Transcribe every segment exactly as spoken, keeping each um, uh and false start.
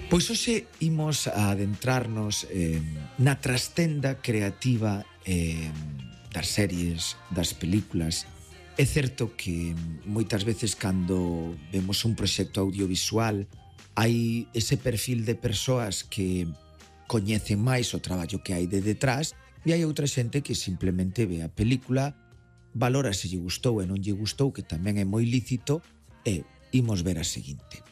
Pois hoxe imos a adentrarnos eh, na trastenda creativa eh, das series, das películas. É certo que moitas veces cando vemos un proxecto audiovisual hai ese perfil de persoas que coñecen máis o traballo que hai de detrás e hai outra xente que simplemente ve a película, valora se lle gustou e non lle gustou, que tamén é moi lícito, e imos ver a seguinte.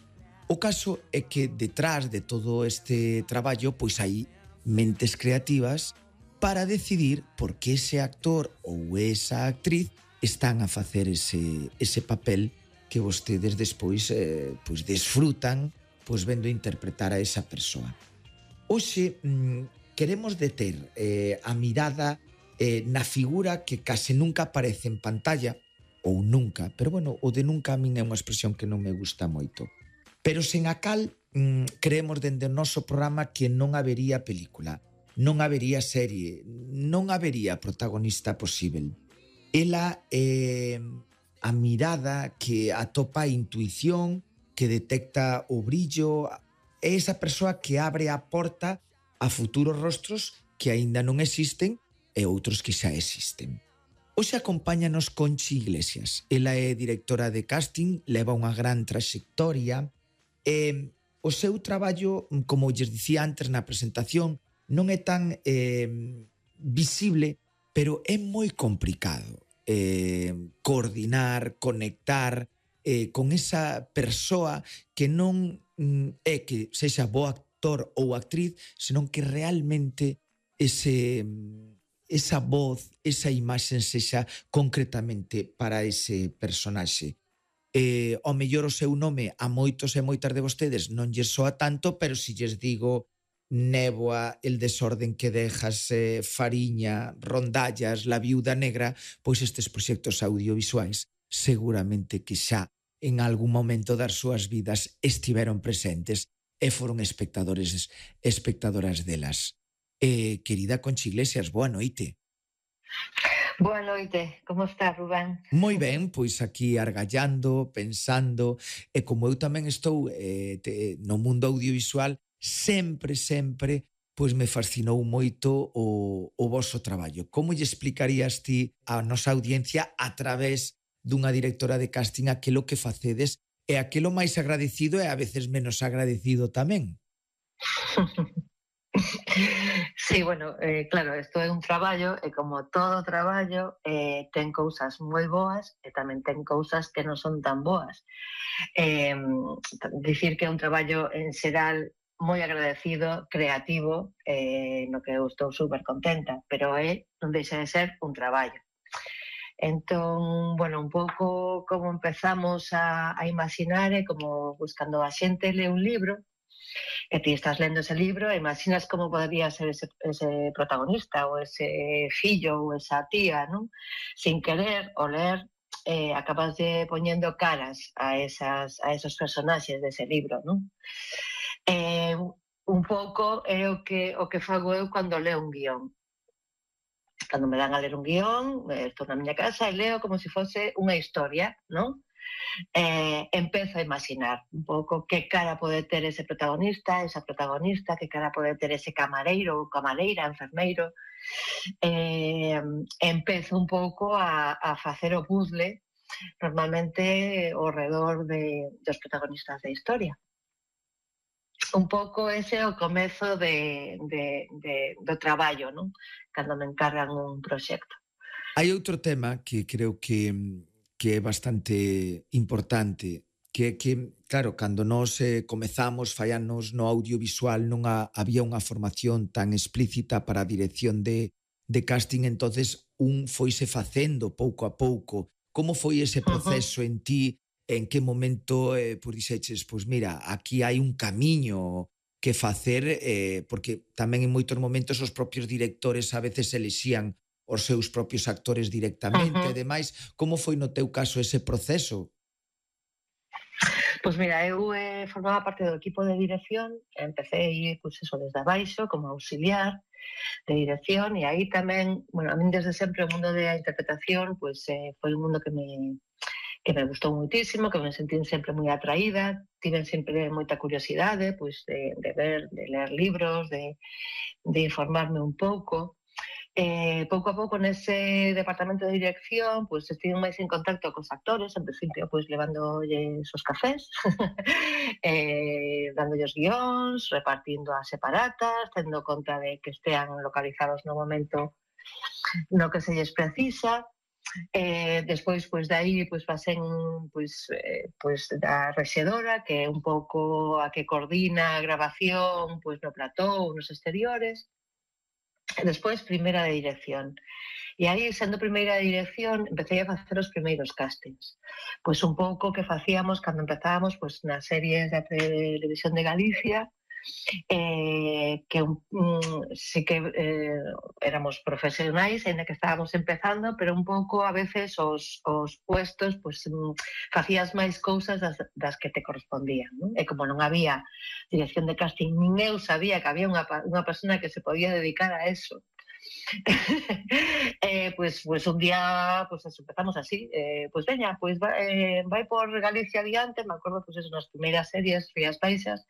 O caso é que detrás de todo este traballo pois hai mentes creativas para decidir por que ese actor ou esa actriz están a facer ese, ese papel que vostedes despois eh, pois desfrutan pois vendo interpretar a esa persoa. Hoxe mm, queremos deter eh, a mirada eh, na figura que case nunca aparece en pantalla, ou nunca, pero bueno, o de nunca a min é unha expresión que non me gusta moito. Pero sen a cal mmm, creemos dende o noso programa que non habería película, non habería serie, non habería protagonista posible. Ela é a mirada que atopa a intuición, que detecta o brillo, é esa persoa que abre a porta a futuros rostros que aínda non existen e outros que xa existen. Hoxe acompáñanos Conchi Iglesias. Ela é directora de casting, leva unha gran traxectoria. Eh, o seu traballo, como lles dicía antes na presentación, non é tan eh, visible, pero é moi complicado eh, coordinar, conectar eh, con esa persoa que non mm, é que sexa bo actor ou actriz, senón que realmente ese, esa voz, esa imaxe sexa concretamente para ese personaxe. Eh, ao mellor o seu nome a moitos e moitas de vostedes non lles soa tanto, pero si lles digo Néboa, El desorden que dejas, eh, Fariña, Rondallas, La viuda negra, pois estes proxectos audiovisuais seguramente que xa en algún momento das súas vidas estiveron presentes e foron espectadores espectadoras delas. Eh, querida Conchi Iglesias, boa noite. Boa noite, como está, Rubén? Moi ben, pois aquí argallando, pensando, e como eu tamén estou eh, te, no mundo audiovisual, sempre, sempre, pois me fascinou moito o, o voso traballo. Como lle explicarías ti á nosa audiencia a través dunha directora de casting aquilo que facedes e aquilo máis agradecido e a veces menos agradecido tamén? Sí, bueno, eh, claro, isto é un traballo e como todo traballo eh, ten cousas moi boas e tamén ten cousas que non son tan boas. Eh, dicir que é un traballo en xeral moi agradecido, creativo, eh, no que eu estou super contenta, pero é, non deixa de ser un traballo. Entón, bueno, un pouco como empezamos a, a imaginar é como buscando a xente lee un libro e ti estás lendo ese libro e imaginas como podría ser ese, ese protagonista ou ese fillo ou esa tía, non? Sin querer o ler eh, acabas de poñendo caras a, esas, a esos personaxes dese libro, non? Eh, un pouco é o que, o que fago eu cando leo un guión. Cando me dan a ler un guión, estou na miña casa e leo como se fose unha historia, non? Eh, empezo a imaginar un pouco que cara pode ter ese protagonista, esa protagonista, que cara pode ter ese camareiro ou camareira, enfermeiro. Eh, empezo un pouco a, a facer o puzzle normalmente ao redor de, dos protagonistas da historia. Un pouco ese é o comezo de, de, de, do traballo, non? Cando me encargan un proxecto. Hai outro tema que creo que que é bastante importante, que é que, claro, cando nós eh, comezamos fai anos no audiovisual non a, había unha formación tan explícita para a dirección de, de casting, entonces un foise facendo pouco a pouco. Como foi ese proceso uh-huh. en ti? En que momento eh, pues, dixeches, pois pues mira, aquí hai un camiño que facer, eh, porque tamén en moitos momentos os propios directores a veces elixían os seus propios actores directamente uh-huh. e demais. Como foi no teu caso ese proceso? Pois mira, eu eh, formaba parte do equipo de dirección, empecé pues, eso, desde abaixo como auxiliar de dirección e aí tamén, bueno, a mí desde sempre o mundo da interpretación pues, eh, foi un mundo que me que me gustou moitísimo, que me sentín sempre moi atraída, tiven sempre moita curiosidade pois, de, de ver, de ler libros, de, de informarme un pouco. Eh, pouco a pouco nese departamento de dirección pois estive máis en contacto cos actores, en principio pois levándolles os cafés, eh, dándolles guións, repartindo as separatas, tendo conta de que estean localizados no momento no que se lles precisa. Eh, despois, pois, de aí, pois, pasen, pois, eh, pois, da rexedora, que é un pouco a que coordina a grabación, pois, no plató ou nos exteriores. E despois, primeira de dirección. E aí, sendo primeira de dirección, empecé a facer os primeiros castings. Pois un pouco que facíamos cando empezábamos pois, nas series da Televisión de Galicia, eh, que um, sí que eh, éramos profesionais, ainda que estábamos empezando, pero un pouco a veces os, os puestos pues, um, facías máis cousas das, das que te correspondían, non? E como non había dirección de casting, nin eu sabía que había unha, unha persona que se podía dedicar a eso. eh, pues, pues un día pues eso, empezamos así, eh, pues veña, pues vai, eh, vai por Galicia adiante, me acordo pues eso, nas primeiras series Rías Baixas,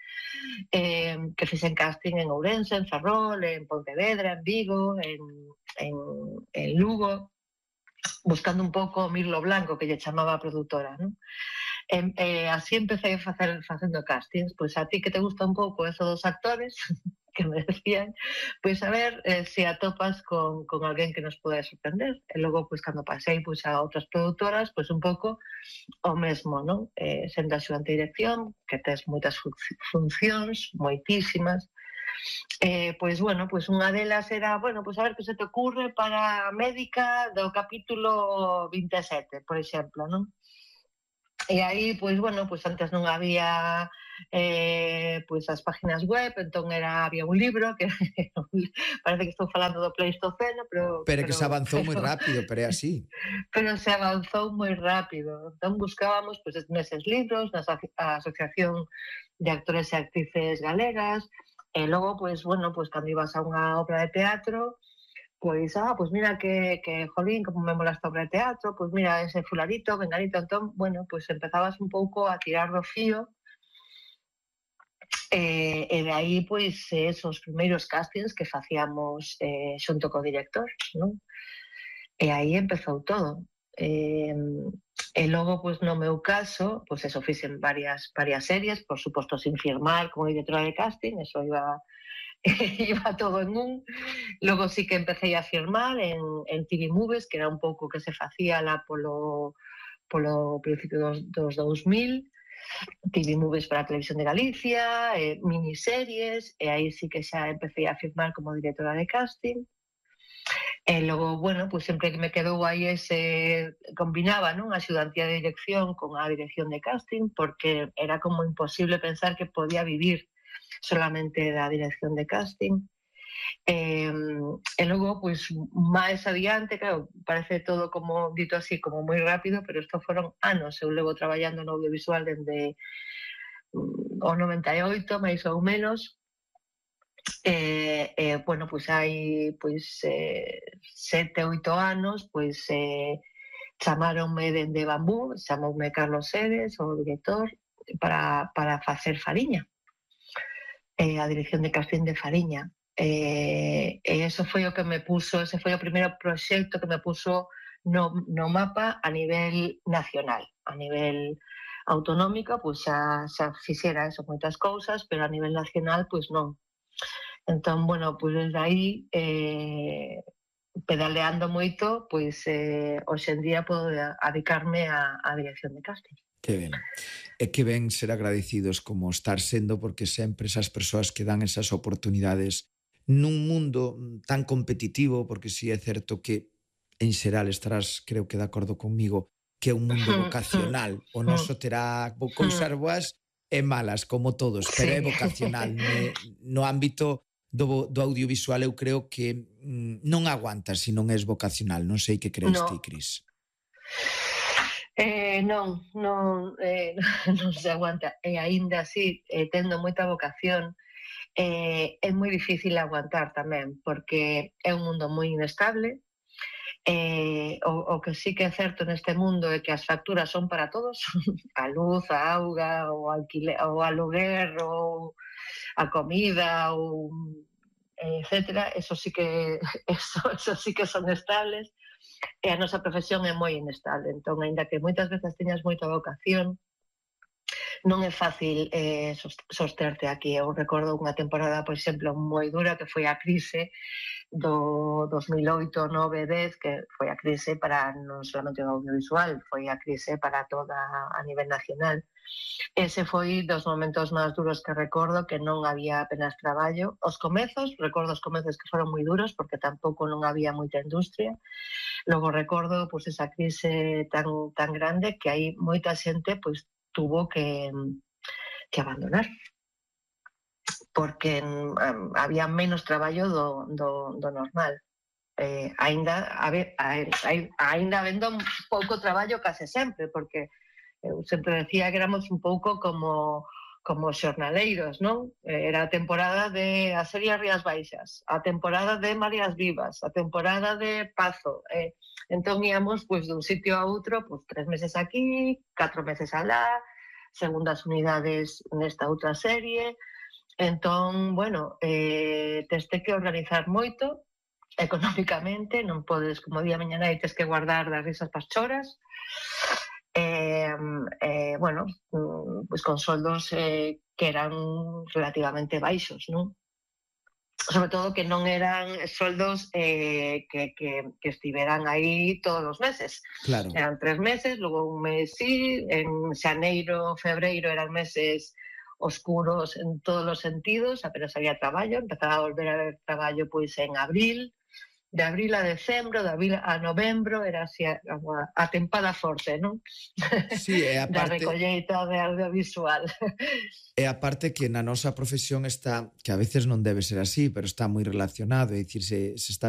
eh, que fixen casting en Ourense, en Ferrol, en Pontevedra, en Vigo, en, en, en Lugo, buscando un pouco o mirlo blanco que lle chamaba a produtora, non? Eh, eh, así empecé a facer facendo castings, pois a ti que te gusta un pouco eso dos actores que me decían, pois a ver eh, se atopas con, con alguén que nos pode sorprender. E logo, pois cando pasei pois, a outras produtoras, pois un pouco o mesmo, non? Eh, sendo axudante de dirección, que tes moitas funcións, moitísimas, eh, pois, bueno, pois unha delas era, bueno, pois a ver que se te ocurre para a médica do capítulo vinte e sete, por exemplo, non? E aí, pois, bueno, pois antes non había eh, pois as páginas web, entón era, había un libro que parece que estou falando do Pleistoceno, pero... Pero que se avanzou moi rápido, pero é así. Pero se avanzou moi rápido. Entón buscábamos pois, neses libros, na Asociación de Actores e Actrices Galegas, e logo, pois, bueno, pois cando ibas a unha obra de teatro, pois, ah, pois mira que, que jolín, como me mola esta obra de teatro, pois mira ese fularito, venganito, entón, bueno, pois empezabas un pouco a tirar do fío, e, e de aí, pois, esos primeiros castings que facíamos eh, xunto co director, non? E aí empezou todo. Eh, e logo, pois, no meu caso, pois eso, fixen varias, varias series, por suposto, sin firmar como directora de casting, eso iba... iba todo en un. Logo sí que empecé a firmar en, en T V Movies, que era un pouco que se facía lá polo, polo principio dos, dos dous mil, T V Movies para a Televisión de Galicia, eh, miniseries, e aí sí que xa empecé a firmar como directora de casting. E logo, bueno, pues sempre que me quedou aí ese, combinaba, non, a axudantía de dirección con a dirección de casting, porque era como imposible pensar que podía vivir solamente da dirección de casting. Eh, e logo, pois, máis adiante, claro, parece todo como, dito así, como moi rápido, pero isto foron anos. Eu levo traballando no audiovisual dende o noventa e oito, máis ou menos. E, eh, bueno, pois hai pois, eh, sete, oito anos, pois, eh, chamaronme dende Bambú, chamoume Carlos Sedes, o director, para, para facer Fariña. Eh, a dirección de casting de Fariña. Eh, e eso foi o que me puso, ese foi o primeiro proxecto que me puso no, no mapa a nivel nacional, a nivel autonómico, pois xa, xa fixera eso, moitas cousas, pero a nivel nacional, pois non. Entón, bueno, pois desde aí, eh, pedaleando moito, pois eh, hoxe en día podo dedicarme a, a dirección de casting. Que ben. E que ben ser agradecidos como estar sendo, porque sempre esas persoas que dan esas oportunidades nun mundo tan competitivo, porque si é certo que en xeral estarás, creo que de acordo conmigo, que é un mundo vocacional. O noso terá cousas boas e malas, como todos, pero é vocacional. No ámbito do, do audiovisual eu creo que non aguantas se non és vocacional. Non sei que crees ti, Cris. Eh, non, non, eh, non se aguanta. E aínda así, eh, tendo moita vocación, eh, é moi difícil aguantar tamén, porque é un mundo moi inestable, Eh, o, o que sí que é certo neste mundo é que as facturas son para todos, a luz, a auga, o, alquiler, o aluguer, ou a comida, ou etcétera, eso sí que eso, eso sí que son estables, e a nosa profesión é moi inestable, entón, aínda que moitas veces teñas moita vocación, non é fácil eh, sosterte aquí. Eu recordo unha temporada, por exemplo, moi dura, que foi a crise do dos mil oito, nove, dez, que foi a crise para non solamente o audiovisual, foi a crise para toda a nivel nacional. Ese foi dos momentos máis duros que recordo, que non había apenas traballo. Os comezos, recordo os comezos que foron moi duros, porque tampouco non había moita industria. Logo recordo pois, esa crise tan, tan grande que hai moita xente pois, tuvo que, que abandonar, porque um, había menos traballo do, do, do normal. Eh, ainda, a ver, ainda habendo pouco traballo case sempre, porque eu sempre decía que éramos un pouco como como xornaleiros, non? Era a temporada de a serie Rías Baixas, a temporada de Marías Vivas, a temporada de Pazo. Eh, entón íamos pois, dun sitio a outro, pois, tres meses aquí, catro meses alá, segundas unidades nesta outra serie. Entón, bueno, eh, teste que organizar moito económicamente, non podes, como día mañá nai, tes que guardar das risas pas choras. Eh, eh, bueno, pues con soldos eh, que eran relativamente baixos, non? Sobre todo que non eran soldos eh, que, que, que estiveran aí todos os meses. Claro. Eran tres meses, logo un mes sí, en xaneiro, febreiro eran meses oscuros en todos os sentidos, apenas había traballo, empezaba a volver a haber traballo pois en abril, de abril a decembro, de abril a novembro, era así a, a tempada forte, non? Sí, e a parte... da recolleita de audiovisual. E a parte que na nosa profesión está, que a veces non debe ser así, pero está moi relacionado, é dicir, se, se está